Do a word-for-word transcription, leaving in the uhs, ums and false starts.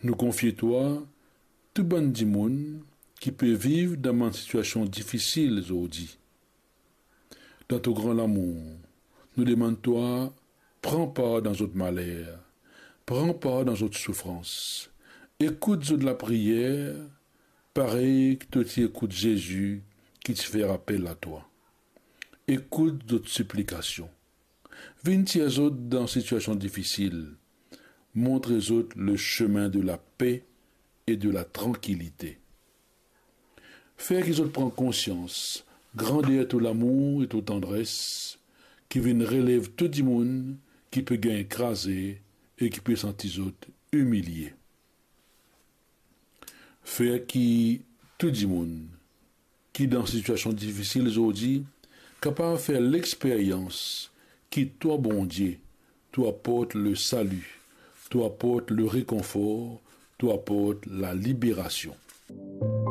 Nou konfie twa tou bann dimoun ki pe viv dan bann sitiasion difisil zordi. Dan to gran lamour, nou demann twa, pran par dan zot maler, pran par dan zot soufrans, ekout zot lapriyer, parey ki to ti ekout Zezi ki ti fer apel a twa. Ekout zot siplikasion. Vinn tir zot dan sitiasion difisil. Montre zot le chemin de la paix et de la tranquillité. Fer ki zot pran konsians grander to lamour e to tandres ki vinn relev tou dimoun ki pe gagn kraze e ki pe santi zot imilie. Fer ki tou dimoun ki dan sitiasion difisil zordi kapav fer lexperyans ki twa, Bondie, to aport le sali, to aport le rekonfor, to aport laliberasion.